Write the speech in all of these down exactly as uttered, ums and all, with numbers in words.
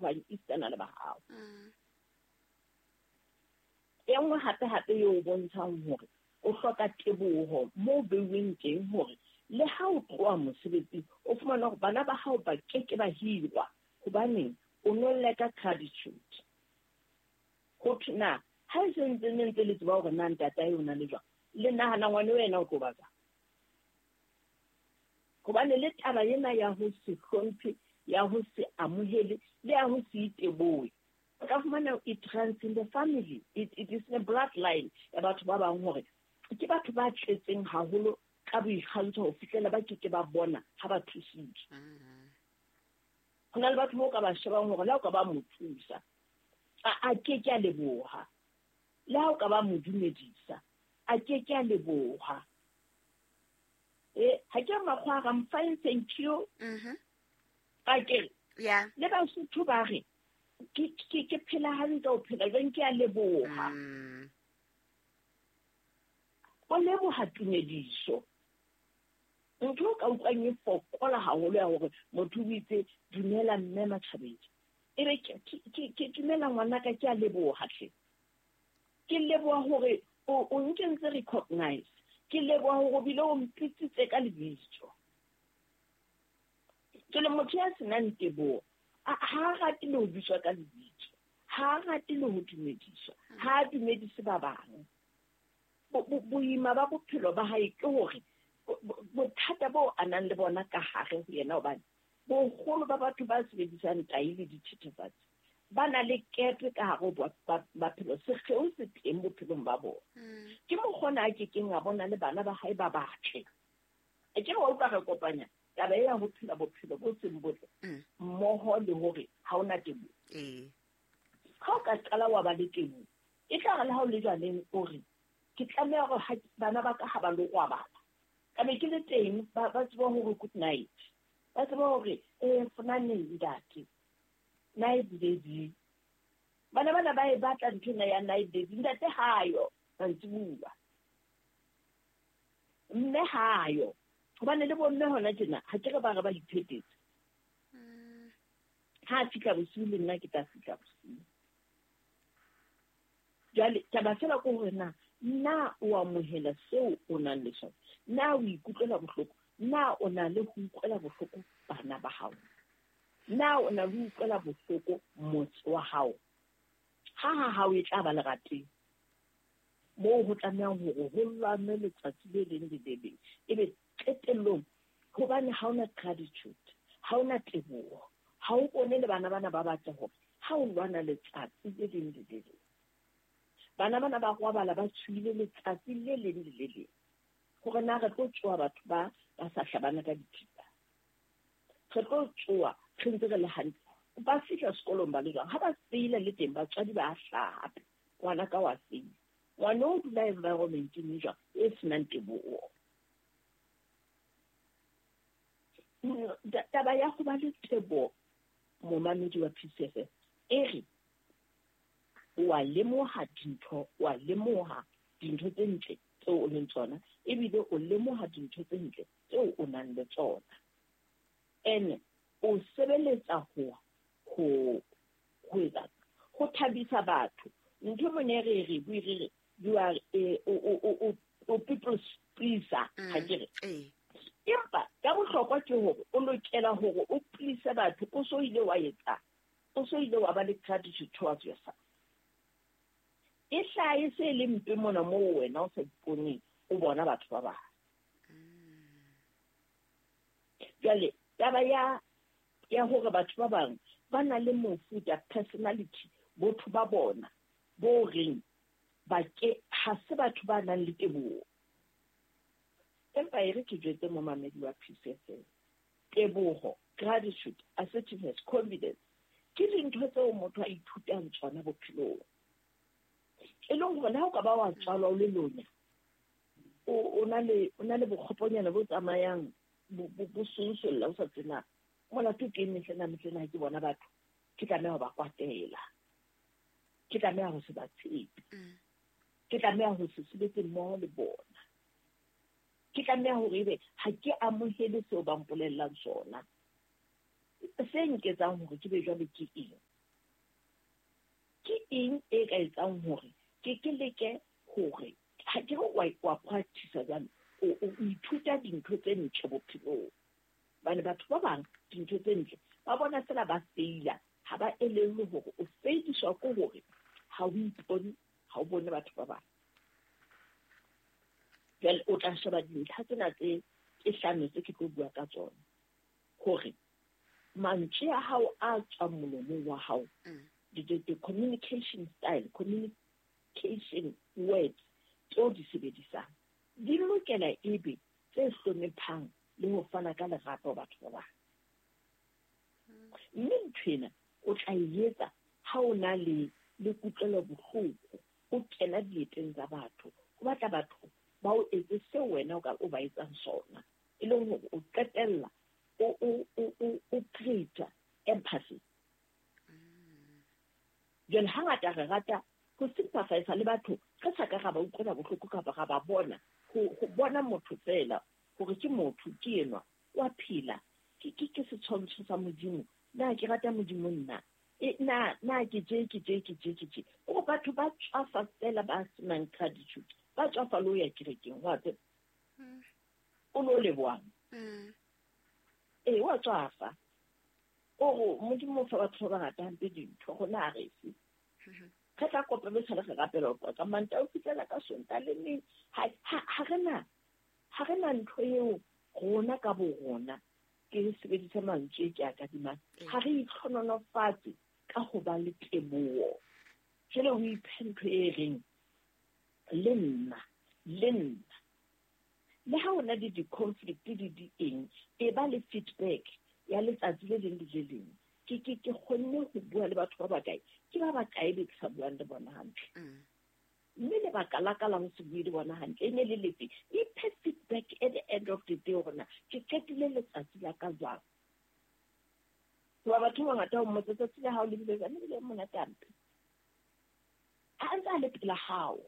bang esitana le ba hao. E nngwe hape hape eo o bontshang hore o hloka teboho moo beuweng teng hore le ha o tloha mosebetsing o fumana hore bana ba hao ba keke ba hirwa hobaneng o no leka gratitude. Ho thwe na ha e se ntse ne ntse le tseba hore na ntatae o na le jwang, le nahana ngwana wena o tlo ba jwang? Hobane le taba ena ya ho se hlomphe, ya ho se amohele, le ya ho se itebohe, o ka fumana it runs in the family. It, it is a bloodline ya batho ba bang hore ke batho ba tletseng haholo ka boikgantsho ho fihlela ba keke ba bona ha ba thusitswe. Ho na le batho bao ka ba shebang hore le ha o ka ba mo thusa, a, a keke a leboha. Le ha o ka ba mo dumedisa, a keke a leboha. Eh, ha ke makgwa a I'm fine, thank you. Mhm. A ke re, Yeah. le Basotho ba re, ke, ke, ke phela hantle, o phela jwang, ke a leboha. Mm. O leboha tumediso. Ntho o ka utlwang e fokola haholo ya hore motho o itse dumela mme Matjhabeng. Ebe ke, ke, ke, ke dumela ngwanaka, ke a leboha hle. Ke leboha hore o, o nkentse recognize. Ke leboha hore o bile o mpitsitse ka lebitso. Ke le motho ya senang teboho, a, ha a rate le ho bitswa ka lebitso, ha a rate le ho dumediswa, ha a dumedise ba bang. Bo-, bo-, boima ba bophelo ba hae ke hore bo-, bo-, bothata bo a nang le bona ka hare ho yena, hobane boholo ba batho ba sebedisang tahi le dithethefatsi ba na le kepe ka hare ho ba-, ba-, maphelo, sekgeo se teng bophelong ba bona. Mm. Ke mokgona a kekeng a bona le bana ba hae ba batle. E ke re wa utlwa re kopanya taba ya ho phela bophelo bo seng botle Mm. mmoho le hore ha ona teboho. Ee. Ha o ka qala wa ba le teboho, e tla re le ha o le jwaleng o re, ke tlameha hore ha bana ba ka ha ba lo robala, ka be ke le teng, ba, ba tsebe hore good night, ba tsebe hore, eh, fonane ntate, night daddy. Bana bana ba e batla ntho ena ya night daddy, ntate ha yo mantsibuya, mme ha yo. Hobane le bomme hona tjena, ha ke re ba re ba iphetetse. Mm. Ha a fihla bosiu le nna ke tla fihla bosiu. Jwale taba fela ke hore na, na o amohela seo o nang le sona? Na o ikutlwela bohloko? Na o na le ho utlwela bohloko bana ba hao? Na o na le ho utlwela bohloko motse wa hao? Ha ha hao e tla ba lerateng, moo ho tlamehang hore ho lwanwe letsatsi le leng le le leng. Ebe qetellong, hobane ha ona gratitude, ha ona teboho, ha o bone le bana bana ba batla hore ha o lwana letsatsi le leng le le leng. Bana bana ba robala ba tshohile letsatsi le leng le le leng. Hore na re tlo tsoha batho ba, ba sa hlabana ka dithipa. Re tlo tsoha re ntse re le hantle. Ba fihla sekolong ba le jwang? Ha ba feila le teng, batswadi ba hlaha hape. Ngwana ka wa feila. Ngwana o dula environment-eng e jwang e senang teboho. Taba ya ho ba le teboho, momamedi wa P C F M, e re o a lemoha dintho, o a lemoha dintho tse ntle tseo o leng tsona, ebile o lemoha dintho tse ntle tseo o nang le tsona. Ene o sebeletsa ho, ho, ho etsa, ho thabisa batho. Ntho e mone re re bue re re, you are a, o, o, o, o, o people's pleaser, Mm, ha ke re. ee. Empa ka bohlokwa ke hore o lokela hore o please batho, o so ile wa etsa, o so ile wa ba le gratitude towards yourself. E hlahe se le mpe mona moo wena o sa iponeng, o bona batho ba bang. Jwale taba ya, ya hore batho ba bang ba na le mofuta personality, botho ba bona bo reng ba ke ha se batho ba nang le teboho. Empa e re ke jwetse momamedi wa P C F M, teboho, gratitude, assertiveness, confidence ke dintho tseo motho a ithutang tsona bophelong. E leng hore le ha o ka ba wa tswalwa o le lonya, o, o na le, o na le bokgoponyana bo tsamayang bo, bo, bo sonsolla o sa tsena. Molato ke eng mehlena, mehlena ha ke bona batho, ke tlameha ho ba kwatela. Ke tlameha ho se ba tshepe. Mm. Ke tlameha ho se sebetse mmoho le bona. Ke tlameha hore ebe ha ke amohele seo ba mpolellang sona. Se nketsang hore ke be jwalo ke eng? eng e ka etsang hore ke ke leke hore ha ke re wa wa practice jwale o o ithuta dintho tse ntle bophelong. Bane batho ba bang dintho tse ntle ba bona fela ba feila, ha ba elellwe hore o feidiswa ke hore ha o ipone, ha o bone batho ba bang. Jwale o tla sheba dintlha tsena tse tse hlano tse ke tlo bua ka tsona hore mantswe a hao a tswang molomong wa hao, the, the, the communication style, communication words tseo di sebedisang di lokela ebe tse hlomphang le ho fana ka lerato batho ba bang. Mme ntho ena o tla e etsa ha o na le le kutlwelo bohloko, o kena dieteng tsa batho, o batla batho ba o etse seo wena o ka o ba etsang sona, e leng hore o qetella o o o o create empathy. Jwale hangata re rata ho sympathize le batho re sa ka ra ba utlwela bohloko kapa ra ba bona, ho ho bona motho fela hore ke motho ke enwa wa phela, ke ke ke setshwantsho sa Modimo, na ke rata Modimo nna, e na na ke je ke je ke je ke je. O batho ba tswafa fela ba senang gratitude, ba tswafa le ho ya kerekeng, wa tseba o lo lebohang. Ee, wa tswafa o re Modimo o fa batho ba bangata hampe dintho, rona ha re fe. Re tla kopa be sale re rapela ho tloha ka Mantaha ho fihlela ka Sontaha le neng. Ha ha re na ha re na ntho eo rona ka bo rona, ke sebedisa mantswe ke a kadimang, ha re itlhononofatse ka ho ba le teboho. Jwale ho iphe ntho e reng le nna, le nna. Le ha o na le di-conflict le di eng, e ba le feedback ya letsatsi le leng le le leng. Ke ke ke kgonne ho bua le batho ba bakae, ke ba bakae be ke sa buang le bona hantle. Mme lebaka la ka la ho se bue le bona hantle e ne le lefe? Iphe feedback at the end of the day hore na ke qetile letsatsi la ka jwang. Hoba batho ba bangata o mmotsa tsatsi la hao le bile jwang, le bile monate hampe. Ha ntse a le pela hao,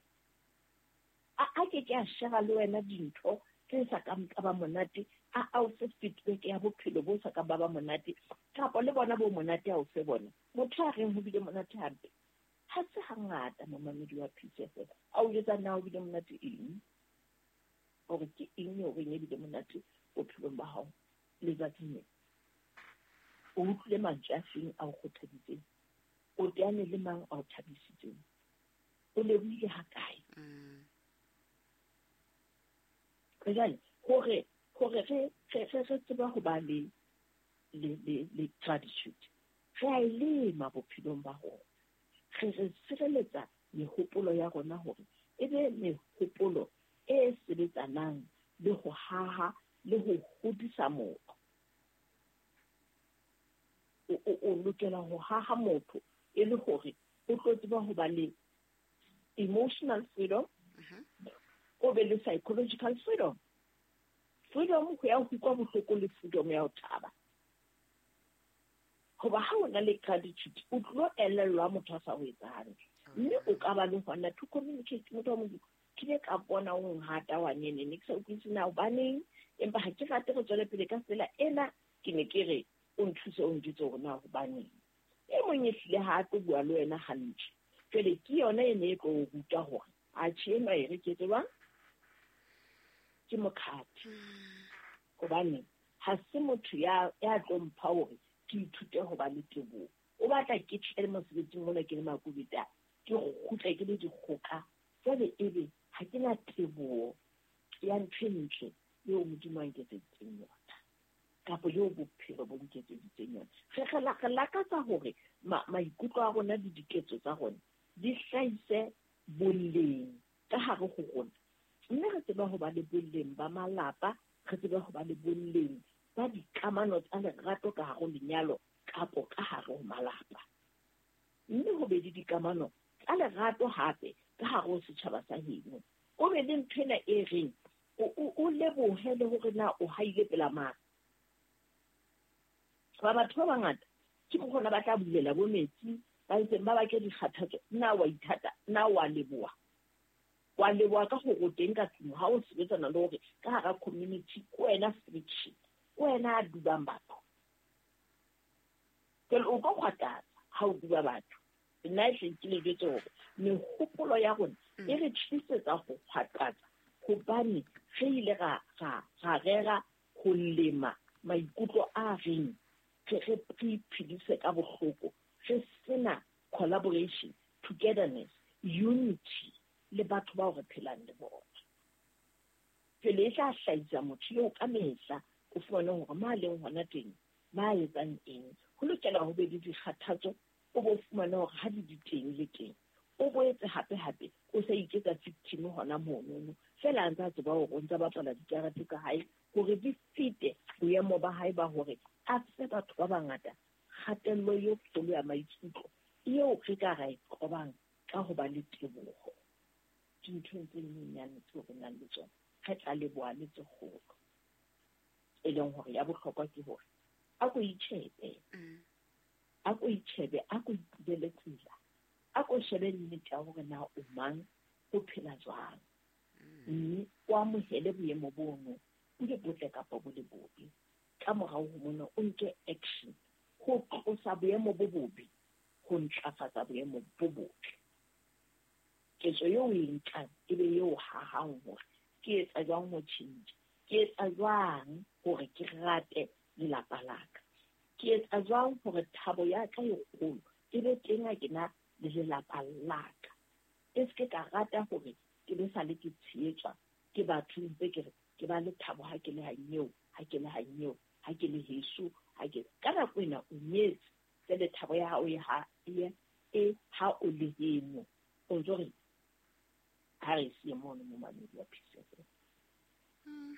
a a ke ke a share le wena dintho tse sa kang tsa ba monate, a a o fe feedback ya bophelo bo sa kang ba ba monate, kapa le bona bo monate a o fe bona. Motho a reng ho bile monate hampe, ha se hangata momamedi wa P C F M a o jwetsa na o bile monate eng, hore ke eng eo reng e bile monate bophelong ba hao letsatsing lena. O utlwile mantswe a feng a o kgothaditseng, o teane le mang a o thabisitseng, o lebohile hakae. Jwale hore hore re re re tsebe ho ba le le le le gratitude, re a e lema bophelong ba rona. Re re sireletsa mehopolo ya rona hore e be mehopolo e sebetsanang le ho haha le ho hodisa motho. O o o lokela ho haha motho e le hore o tlo tseba ho ba le emotional freedom, o be le psychological freedom. Freedom ho ya ho utlwa bohloko le freedom ya ho thaba. Hoba ha o na le gratitude, o tlo elellwa motho a sa o etsa hantle. Mme o ka ba le hona to communicate motho wa Modimo. Ke ile ka bona o nhata wa nene, ne ke sa utlwisise na hobaneng, empa ha ke rate re tswele pele ka tsela ena, ke ne ke re o nthuse o njwetse hore na hobaneng. E mong e hlile ha a tlo bua le wena hantle. Jwale ke yona e ne e tlo o ruta hore atjhe enwa e re ke etse jwang, ke mokhathi. Hobane ha se motho ya ya tlo mpha hore ke ithute ho ba le teboho. O batla ke tle mosebetsing mona ke le makubeta, ke kgutle ke le dikgoka, jwale ebe ha ke na teboho ya ntho e ntle eo Modimo a nketseditseng yona, kapa eo bophelo bo nketseditseng yona. Re re re lakatsa hore maikutlo a rona le diketso tsa rona di hlahise boleng ka hare ho rona. Mme re tseba ho ba le boleng ba malapa, re tseba ho ba le boleng ba dikamano tsa lerato ka hare ho lenyalo kapo ka hare ho malapa. Mme ho be le dikamano tsa lerato hape ka hare ho setjhaba sa heno. O be le ntho ena e reng o o lebohe le hore na o haile pela mang. Ba batho ba bangata ke hona ba tla bulela bo metsi, ba itseng ba bake dikgathatso, na wa ithata, na wa leboha. Wa leboha ka hore o teng ka tlung ha o sebetsana le hore ka hara community ke wena friction, ke wena a dubang batho. Jwale o ka kgwatatsa ha o duba batho. Nna e hle ke le jwetse hore mehopolo ya rona e re tlisetsa ho kgwaqatsa, hobane re ile ra ra ra rera ho lema maikutlo a reng re re iphedise ka bohloko, re sena collaboration, togetherness, unity le batho bao re phelang le bona. Pele e tla hlahisa motho eo ka mehla o fumane hore ma leng hona teng ba etsang eng, ho lokela ho be le dikgathatso, o bo fumane hore ha di di teng le teng o boetse hape hape o sa iketsa victim hona monono fela a ntse a tseba hore o ntse a bapala dikarete tsa hae hore di fete boemo ba hae ba hore a fe batho ba bangata kgatello e kgolo ya maikutlo eo re ka ra e qobang ka ho ba le teboho dinthong tse nyenyane tseo re nang le tsona, re tla leboha le tse kgolo. E leng hore ya bohlokwa ke hore a ko itjhebe, a ko itjhebe, a ko ipulele tsela, a ko shebe nnete ya hore na o mang, o phela jwang, mme o amohele boemo bono bo le botle kapa bo le bobe. Ka morao ho mona o nke action ho tlosa boemo bo bobe, ho ntlafatsa boemo bo botle. Ketso eo o e nkang e be eo hahang hore ke etsa jwang ho tjhentjha, ke etsa jwang hore ke rate lelapa la ka, ke etsa jwang hore thabo ya ka e kgolo e be teng ha ke na le lelapa la ka. E se ke ka rata hore ke be sale ke tshehetswa ke batho ntse ke re ke ba le thabo ha ke le hanyeo, ha ke le hanyeo, ha ke le heso, ha ke ka nako ena o nyetse jwale thabo ya hao e ha e e ha o le heno. O ntso re ha re siye mono momamedi wa P C F M.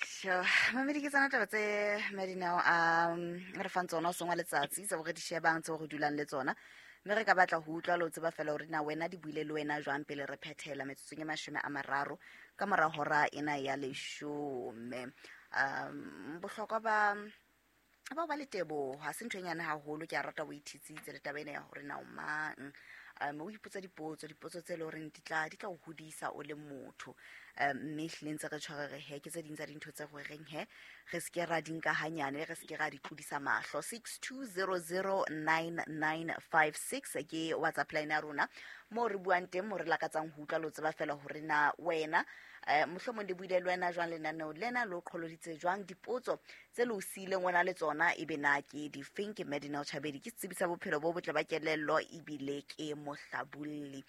Sure. Mamedi ke tsona taba tse Madinao a re fang tsona o sengwa letsatsi tse re di shebang tse re dulang le tsona, mme re ka batla ho utlwa le ho tseba fela hore na wena di buile le wena jwang pele re phethela metsotsong e mashome a mararo ka mora hora ena ya leshome. Um bohlokwa ba ba ba le teboho ha se ntho e nyane haholo, ke a rata o ithitsitse le taba ena ya hore na o mang. Um o ipotsa dipotso, dipotso tse leng horeng di tla di tla o hodisa o le motho. Um mme ehlile ntse re tshware re he ke tse ding tsa dintho tse re reng he re se ke ra di nka hanyane, re se ke ra di tlodisa mahlo. Six two zero zero nine nine five six ke WhatsApp line ya rona moo re buang teng, mo re lakatsang ho utlwa le ho tseba fela hore na wena eh mohlomong le buile le wena jwang lenaneo lena, le o qholoditse jwang, dipotso tse le o siileng wena le tsona ebe na ke difeng. Ke Madinao Chabedi, ke setsebi sa bophelo bo botle ba kelello ebile ke mohlabolli.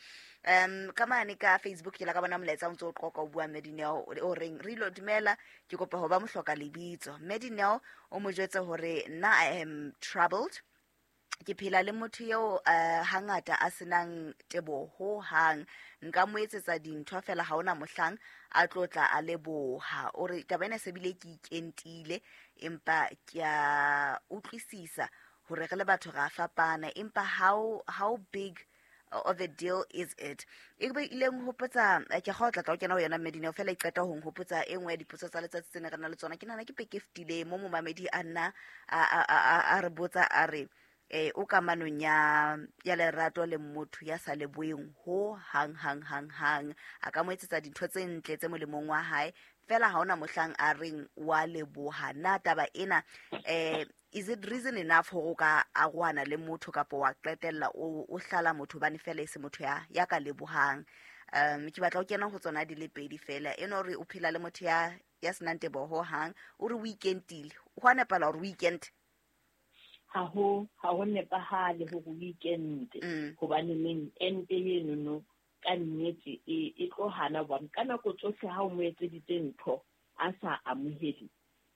Um ka mane ka Facebook ke la ka bona molaetsa o ntse o qoqa o bua Madinao o reng re ilo dumela, ke kopa ho ba mohloka lebitso. Madinao o mo jwetse hore nna I am troubled, ke phela le motho eo uh, hangata a senang teboho hang, nka mo etsetsa dintho fela ha ona mohlang a tlotla a leboha. O re taba ena se bile ke ikentile, empa ke a utlwisisa hore re le batho ra fapana, empa how how big of a deal is it? E be ile nghopotsa ke kgotla tla o kena ho yona Medina fela e qeta ho nghopotsa e nngwe ya dipotso tsa letsatsi tsene re na le tsona. Ke nahana ke peke fetile mo momamedi a nna a a re botsa a re eh o kamanong ya ya lerato le motho ya sa leboeng ho hang hang hang hang, a ka mo etsetsa dintho tse ntle tse molemong wa hae fela ha ona mohlang a reng wa leboha. Na taba ena eh is it reason enough hore o ka arohana le motho kapa wa qetella o o hlala motho bane fela e se motho ya ya ka lebohang? Um ke batla ho kena ho tsona di le pedi fela, eno re o phela le motho ya ya senang teboho hang, o re weekendile, ho a nepala hore weekend ha ho ha ho nepahale hore weekend, hobane neng ente eno no ka nnete e e tlo hana hobane ka nako tsohle ha o mo etseditse ntho a sa amohele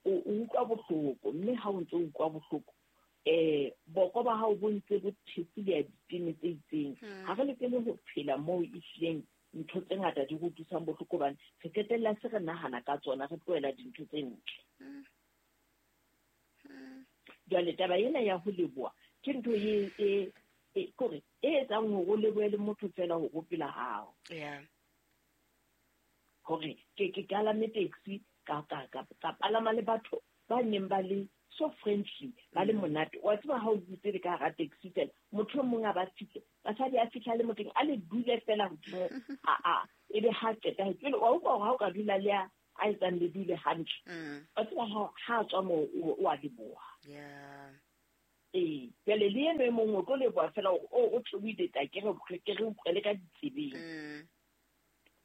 o utlwa bohloko, mme ha o ntse o utlwa bohloko eh boko ba hao bo ntse bo thefile ditene tse itseng. Ha re lokele ho phela moo e hlileng ntho tse ngata di re utlwisang bohloko hobane re qetella se re nahana ka tsona, re tlohela dintho tse ntle. Jwale taba ena ya ho leboha ke ntho e e e kore e etsang hore o lebohe le motho fela hore o pela hao. Yeah. Hore ke ke kalame taxi ka ka ka ka palama le batho ba neng ba le so friendly, ba le monate. Wa tseba ha o dutse le ka hara taxi fela, motho e mong a ba fihle, basadi a fihla le mothong a le dule fela hodimo a a ebe ha qeta pele wa utlwa hore ha o ka dula le a a etsang le dule hantle. Wa tseba ha ha tswa moo o a leboha. Yeah. Ee, jwale le eno e mongwe o tlo leboha fela hore o o theohile tla ke re ke re utlwele ka ditsebeng.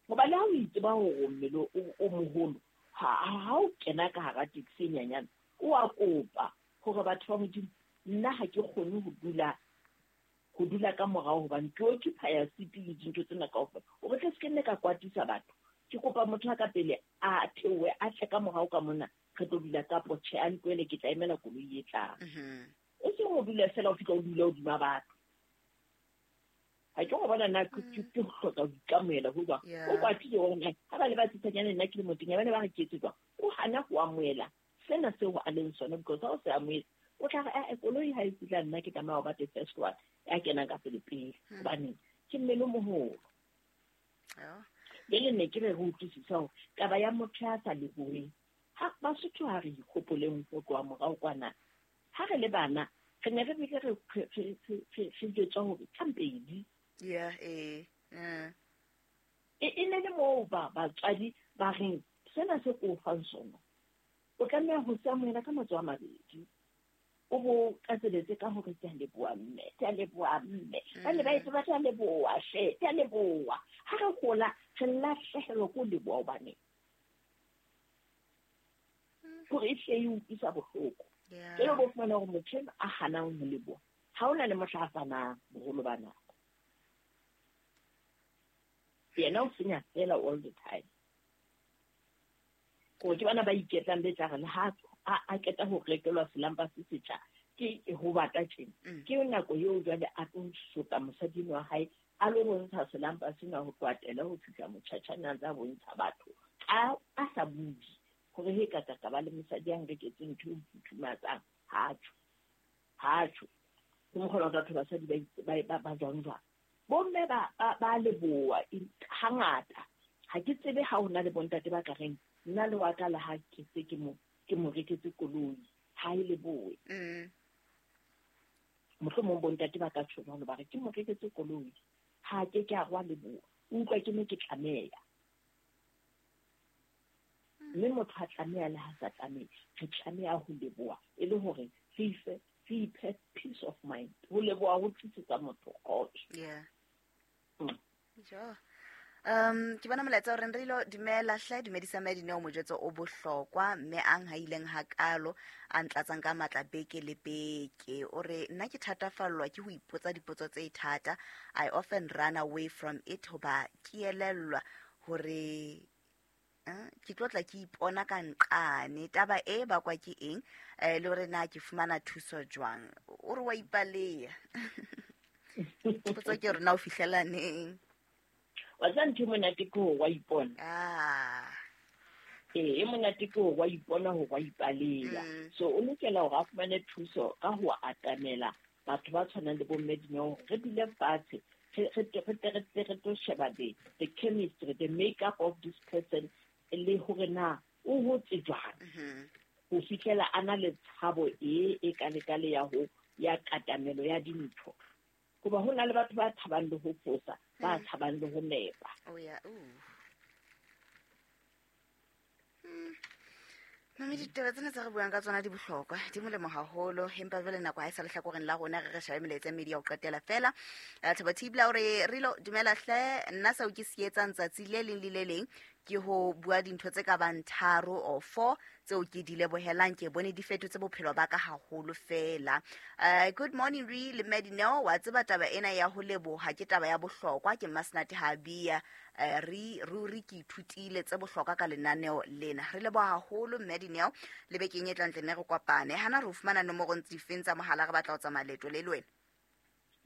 Hoba le ha o itseba hore mmele o moholo, ha ha o kena ka hara taxi e nyenyane, o a kopa hore batho ba Modimo, nna ha ke kgone ho dula ho dula ka morao hobane ke occupy seat le dintho tsena kaofela. O re tle se ke nne ka kwatisa batho. Ke kopa motho a ka pele a theohe a tle ka morao ka mona, re tlo dula ka tjhe, a ntlohele ke tla emela koloi e tlang. E seng ho dula fela o fihla o dula hodima batho. Ha ke go bona nna ke ke hloka ho ikamohela ho jwang. O kwatile hore na ha ba le ba tsitsanyane nna ke le motenya ba ne ba re ke etse jwang. O hana ho amohela sena seo a leng sona because ha o se amohetse o tla re eh koloi ha e fihla nna ke tlameha ho ba the first one ya kenang ka pele pele hobane ke mmele o moholo. Jwale ne ke re re utlwisisa hore taba ya motho ya sa leboheng, ha Basotho ha re ikgopoleng ho tloha morao kwana, ha re le bana re ne re bile re re jwetswa hore thampedi. Yeah, eh. Mm. E e ne le moo ba batswadi ba reng sena se ko fang sona o tlameha ho se amohela ka matsoho a mabedi, o bo tlatseletse ka hore ke a leboha mme, ke a leboha mme. Ba ne ba itse ba tla leboha hle, ke a leboha. Ha re hola re lahlehelwa ke ho leboha hobane hore e hle e utlwisa bohloko. Jwale bo fumana hore motho enwa a hanang ho leboha, ha hona le mohla a fanang boholo ba nako. Yena o senya fela all the time. Gore ke bana ba iketlang be tla re le ha a qeta ho rekelwa selampa se setjha ke ho bata tjena. Ke nako eo jwale a tlo sotla mosadi wa hae a lo bontsha selampa sena ho tloatela ho fihla motjhatjhane a ntse a bontsha batho a a sa bue hore he ka ka ba le mosadi a nreketseng ntho e futhumatsang. Ha tjho, ha tjho. Ke mokgwa wa batho basadi ba ba ba jwang jwang. Bomme ba ba leboha hangata. Ha ke tsebe ha hona le bontate ba ka reng nna le wa ka le ha ke se ke mo ke mo reketse koloi ha e lebohe. Mohlomong bontate ba ka tjho jwalo ba re ke mo reketse koloi ha ke ke a rwa leboha, o utlwa ke ne ke tlameha. Mme motho ha tlameha le ha sa tlameha, re tlameha ho leboha e le hore re ife re iphe peace of mind. Ho leboha ho tlisetsa motho kgotso. Yeah. Mm. Sure. Um ke bona molaetsa o reng re ilo dumela hle, dumedisa Madineo mojwetso o bohlokwa mme ang ha ileng hakalo a ntlatsang ka matla beke le beke. O re nna ke thatafallwa ke ho ipotsa dipotso tse thata. I often run away from it hoba ke elellwa hore eh ke tlotla ke ipona ka nqane taba e bakwa ke eng, eh le hore na ke fumana thuso jwang. O re wa ipaleya. Potso ke hore na o fihlela neng. Wa tseba ntho e monate ke hore wa ipona. Ah. Ee, e monate ke hore wa ipona hore wa ipaleya. So o lokela hore a fumane thuso ka ho atamela batho ba tshwanang le bo mme Dineo, re dule fatshe re re re tlo sheba the the chemistry, the makeup of this person le hore na o hotse jwang ho fihlela a na le tshabo e e kalekale ya ho ya katamelo ya dintho. Hoba ho na le batho ba tshabang le ho fosa, ba tshabang le ho nepa. Oh yeah, ooh. Mme ditaba tsena tse re buang ka tsona di bohlokwa, di molemo haholo, empa jwale nako ha e sa lehlakoreng la rona, re re shabe melaetsa e mmedi ya ho qetela fela. Thabo Thibla o re Rilo dumela hle, nna seo ke se etsang tsatsi le leng le le leng ke ho bua dintho tse ka bang tharo or four tseo ke di lebohelang, ke bone di fetotse bophelo ba ka haholo fela. Uh, good morning Re le Madineo, wa tseba taba ena ya ho leboha ke taba ya bohlokwa, ke Masnati Habia. Uh, re ruri ke ithutile tse bohlokwa ka lenaneo lena. Re leboha haholo Madineo, le bekeng e tlang tle ne re kopane. Hana re fumana nomoro tse difeng tsa mohala re batla ho tsamaya leeto le le wena?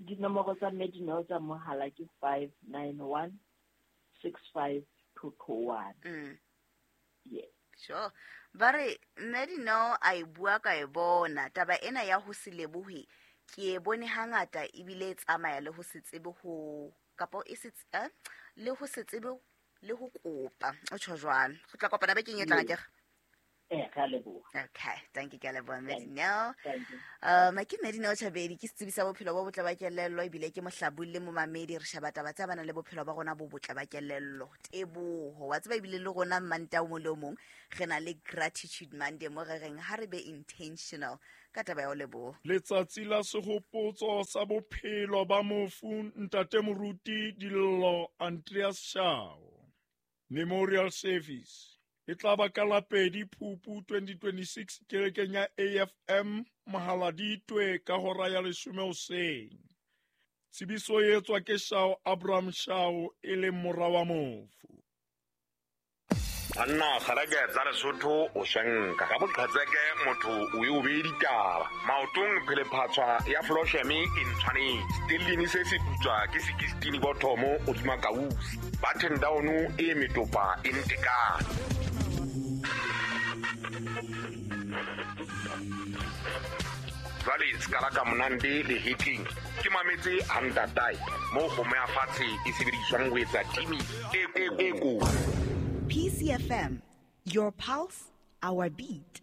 Dinomoro tsa Madineo tsa mohala ke five nine one six five two two one. Mm. Yes. Sure. Ba re Madineo a e bua ka e bona taba ena ya ho se lebohe ke e bone hangata ebile e tsamaya le ho se tsebe ho kapa e se eh, le ho se tsebe le ho kopa. O tjho jwalo. Re tla kopana bekeng e tlang akere? Eh, ka leboha. Okay, thank you, ka leboha Madineo. Thank you. Um ke Madineo Chabedi, ke setsebi sa bophelo bo botle ba kelello ebile ke mohlabulli le momamedi. Re sheba taba tsa bana le bophelo ba rona bo botle ba kelello. Teboho. Wa tseba ebile le rona Manta o mong le o mong re na le gratitude Monday mo re reng ha re be intentional Ka taba ya ho leboha. Letsatsi la sehopotso sa bophelo ba mofu Ntate Moruti Dillo Andreas Shao. Memorial Service e tla ba ka la pedi Phupu twenty twenty-six kerekeng ya A F M Mohaladitwe ka hora ya leshome hoseng. Tsebiso e etswa ke Shao Abraham Shao e leng mora wa mofu. Banna kgaleke tsa Lesotho o swenka ka boqhetseke motho o e o beye ditaba maotong phelephatswa ya flosheme e ntshwanetse stellini se se putswa ke sixteen bothomo o tsuma kausi button down e metopa e ntekane. Jwale skala ka monande le hitting ke mametse hantatai mo kgomo ya fatshe e sebediswang ho etsa timi e e e ko. P C F M, your pulse, our beat.